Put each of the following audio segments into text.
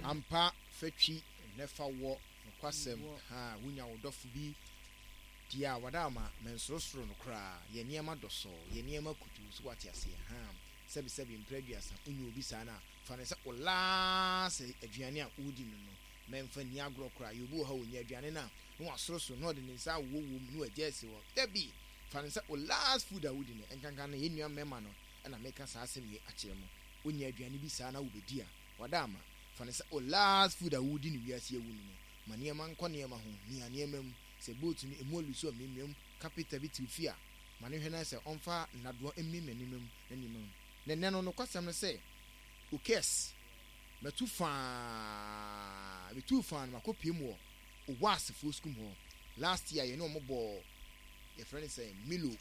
Ampa fa twi nnɛ fa wɔ nokwasɛm haa wunya wo dɔfo bi deɛ a wada ama mɛnsorosoro no koraa yɛ nneɛma dɔsɔɔ yɛ nneɛma kutuu so wate aseɛ haa sɛbi sɛbi mprɛ aduasa wonya obi saa no a fa no sɛ wo last aduane a wodi no no mɛnfa nni agorɔ koraa yɛ obi wɔ hɔ a ɔnya aduane no a na wasorosoro na ɔde ne nsa awowɔ mu na wagya asi hɔ dabi fa no sɛ wo last food a wodi no nkanka no yɛn nua mmarima no na meka saa asɛm yi akyerɛ mo wonya aduane bi saa na wobɛdi a wada ama fa no sɛ wo last food a wodi no wiase awu no no ma nneɛma nkɔ nneɛma ho mia nneɛma mu sɛ boat no emu alusu a miamia mu kapita bi te wo fie a ma no nhwɛ na sɛ ɔmfa nnadoa mmiamia nneɛma mu na nneɛma mu na ɛnnɛ no nokwasɛm no sɛ okes matu faa metuu faa no makɔ pie mu wɔ Owasefoɔ sukuu mu hɔ last year yɛne wɔn bɔɔ yɛfrɛ no sɛ Milo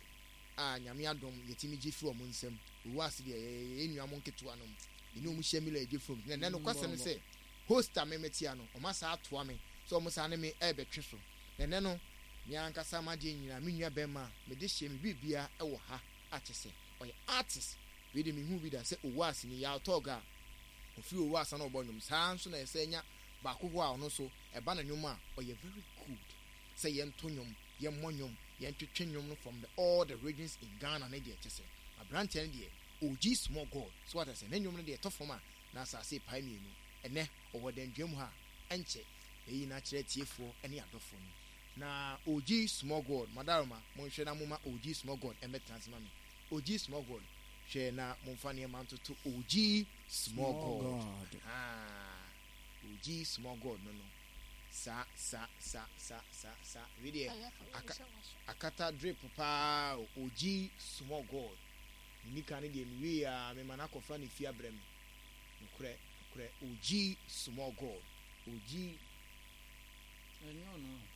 a Nyame adom yɛtumi gye firi wɔn nsam Owase deɛ yɛyɛ yɛn nua mo nketewa nom yɛne wɔn hyia Milo a yɛgye firi wɔn na ɛnɛ nokwasɛm ne sɛ host a me metea no wɔn asaa atoa me sɛ wɔn saa ne me ɛrebɛtwe so na ɛnɛ no me ankasa m'adeɛ nyinaa me nua bɛrima a mede hyɛ me biribia ɛwɔ ha a kyɛ sɛ ɔyɛ artist wei de mehu bi da sɛ Owase ni Yaw Tog a ɔfiri Owase na ɔbɔ nnwom saa nso na ɛsɛ nya baako hɔ a ɔno nso ɛba no nnwom a ɔyɛ very good sɛ yɛnto nnwom yɛmmɔ nnwom yɛntwetwe nnwom no from the all the regions in Ghana ne deɛ kyɛ sɛ aberanteɛ no deɛ OG small god so wate aseɛ ne nnwom no deɛ ɛtɔ fam a na asase repae mmienu ɛnɛ ɔwɔ dandwam ha ɛnkyɛ yɛyi no akyerɛ atiefoɔ ne adɔfoɔ no na OG small god madaroma monhwɛ na moma OG small god ɛmmɛtena ase ma me OG small god hwɛ na momfa nneɛma ntoto OG small god ahaa OG small god no no sa sa sa sa sa sa wei deɛ aka akata drip paa o OG small god ne nika no deɛ mewie a mema no akɔfa ne fie abrɛ me nokorɛ nokorɛ OG small god OG Ɛnyɛ ɔno.